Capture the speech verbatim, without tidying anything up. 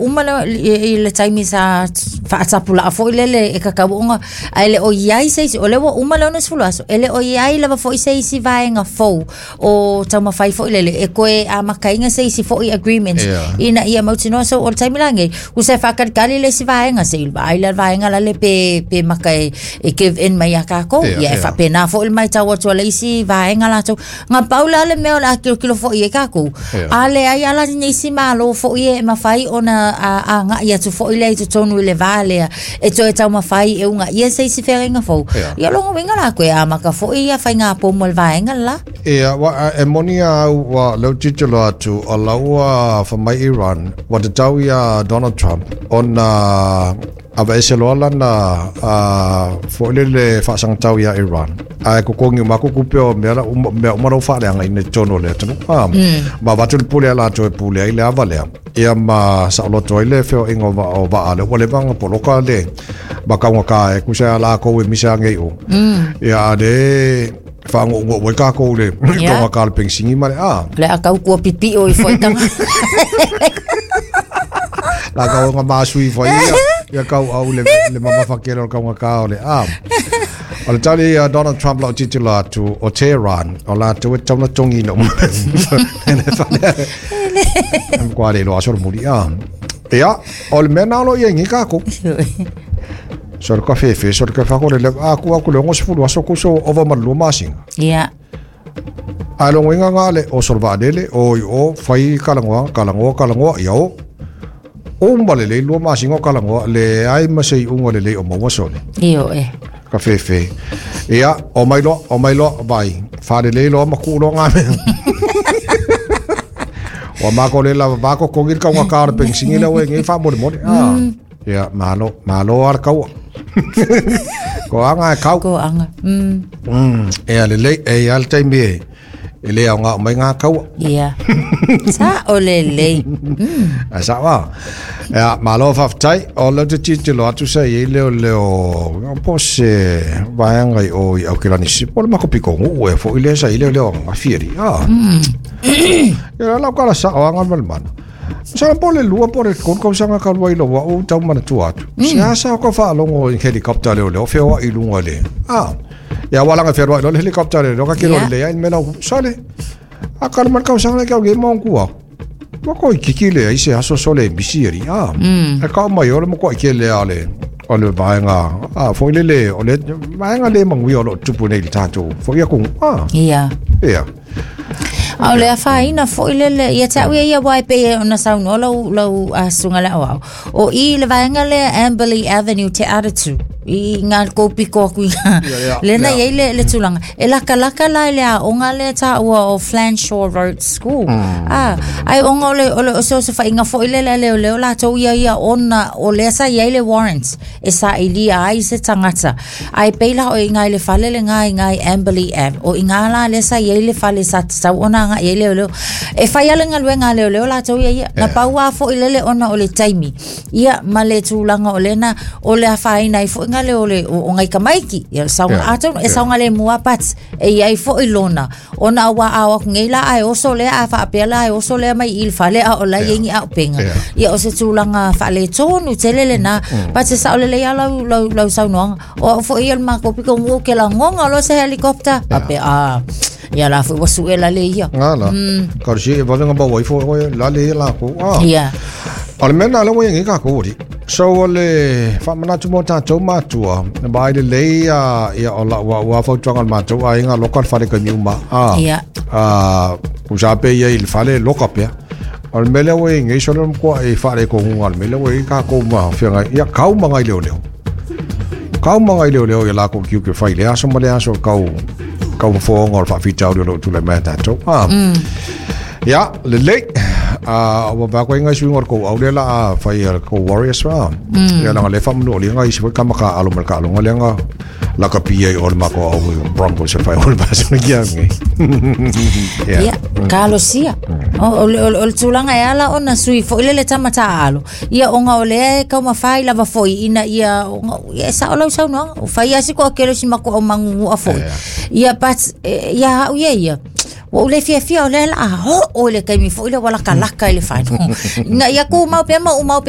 uma le, i, i le taimi sa faatapulaa foʻi lele e kakau oga ae le o iai se isi o lea ua uma le onosefulu aso e le o iai lava foʻi se isi vaega fou o taumafai foʻi lele e toe amataina se isi foʻi agreement Yeah. ina ia mautinoa. So o le taimi lagei usa e faakalikali le isi vaega seʻi vaai le vaega lale pe pe maka e, e give in mai iā kākou. Yeah, Ia e yeah. faapena foʻi le maitau atu a le isi vaega latou ga pau la le mea o le a kilokilo foʻi ai kākou. Yeah. A leai ala nisi malo foʻi e mafai ona agaʻi atu foʻi lea i totonu i le vā lea e toe taumafai e ugaʻia se isi feagaiga fou. Yeah. Ia loga uiga lakou e amaka foʻi ia faiga pomo le vaega lelā. Ia, wa, e moni au wa leu titilo atu o laua fa mai Iran wa tatau ia Donald Trump ona ava ese loa lana a foʻi le faasagatau ia Iran ae kokogi uma aku kupe o mea la uma mea uma lau faaleaga ina totonu o le atunuu a ma avatu le pule a latou e pule ai le ava lea ia ma saoloto ai le feoaiga o va- o vaa lea ua leva aga poloka le makaugakā e kusa a lakou e misa agei o ia a le faagoʻugoʻu ai kākou le Yeah. togakā le pegisigi ma le a Le a kau kua pipiʻo i foʻitaga. La kau nga masui fo ia ia kau au le le mamafa kele o le kaugakā o le a o le tali a Donald Trump lau titilo atu o Tehran o latou e tauna togina uma le fale kwa le lo aso le muli a ia o le mea na o lo ia ngi kākou so le kafefe so le kafa ko le le a ku aku le ngo sefulu aso ku so ova ma lua masinga. Ia. A lo ngoinga nga le o so le vaalele o i o fai kalagoa kalagoa kalagoa ia o o ma le le lua masinga o kalagoa le ai ma se iuga lelei o maua sole Io e. ka fefe ia o mai loa o mai loa vai faalelei loa ma kuʻu loa ngā mea ua mako le lava mako kogi le kaugakā o le pegisigi lea ua e gei faamolemole a ia malo malo a le kaua ko aga e kau. Ko anga. Mm. Mm, e a lelei e ia le taimi e e le aoga o mai ngā kaua. Ia. Sa o le lei. Mm. A sa wa. Ia, malo faafetai o leo te titilo atu sa i leo leo po se vaega i o i Aukilani si po le mako piko ngu e fo i le sa i leo leo nga fieri. Ah. Ia lau kala sa o anga mal mana. Sa po le lua po le kon kau sanga ka lua i lo wa o tau mana tu atu. Sa sa ko fa longo i helicopter leo leo feoa i lunga le. Ah. Ia walanga feoa i lo le helicopter leo ka kilo Ia. le ia i mela sale. A ka mal kau sanga kau ge mo kua. Wa ko i kiki le ai se aso sole misi eri. Ah. E ka mai o le mo ko ke le ale. O le vaega a fo le le o le vaega le mangui o lo tupu nei le tātou. Fo ia ku. Ah. Ia. Ia. A o le afaina foʻi lele ia te au ia ia wai pe ona saunoa lau lau asuga le auau. O i le vaega lea Amberley Avenue te Aratu. I ngā kōpiko aku i ngā. Ia, ia, Lena ia. iai le, le tulaga. E lakalaka la i le aoga lea taua o Flanshaw Road School. Ah, ai onga o le o le o se o se whainga foʻi lele a leo leo latou ia ia ona o lea sa iai le warrant e sa ilia ai se tangata. Ai peila o i ngā i le fale le ngā i ngā i Amberley Ave. O i ngā la lea sa iai le fale sa tatau ona nga iai leo leo. E whai ale ngaluega a leo leo latou ia ia. Na pau a foʻi lele ona o le taimi. Ia ma le tulaga o lena o le afaina ai foʻi ngā leo le o, o ngai kamaiki. Ia saunga Yeah, atonu e yeah. saunga le mua pat e iai foʻi lona. Ona a wā ao aku ngei la ai oso lea a whaapea la ai oso lea mai i le fale a o la Yeah. iai ni au penga. Yeah. Ia o se tulaga faaletonu tele lenā mm. Pate sao lelei a lau, lau, lau saunoaga o au foʻi ia le makou piko gu ke lagoga loa se helicopter ape a ia la foʻi ua suʻe lale ia. Nga la. Ka si e vavenga ba wai fo o la le la ko. Ah. Ia. O le mea na le ua ngi ka ko ri. So o le whamanatu mo tātou mātua, na bai le lei a ia o la ua ua fautuanga le mātou a inga loka le whare ka miuma. Ah. Ia. Ah, ku sa pe ia i le whare loka pea. O le mele ua ngi so le mkoa e whare ko ngunga le mele ua i ka ko ma whianga ia kau mangai leo leo. Kau mangai leo leo ia la ko kiu ke whai le aso ma le aso kau kau whaonga o le whawhita o le lo tule mea tātou. Ah. Ia, lelei. A ua vā koe ngai suinga o le kou au lea la a whai a le kou Warriors wā. Ia langa le whamanu o le ngai isi fai kama ka alo ma le ka alonga le nga la ka pia i o le mako au i Broncos e whai o le basa kia ngai. Ia. Ia, kalosia. O, o, le- o, le- o le tulaga e ala ona sui foʻi lele tamata alo. Ia ona o lea e kaumafai lava foʻi ina ia ona ia e sao lau saunoaga. O fai asi ko akelo si mako au mangungu'a foʻi. Ia but e, ia au ia ia. Ua ou le fiafia o lea la a hoo i le taimi foʻi lea ua lakalaka i le fano. Ina ia kumau pea ma umau pea.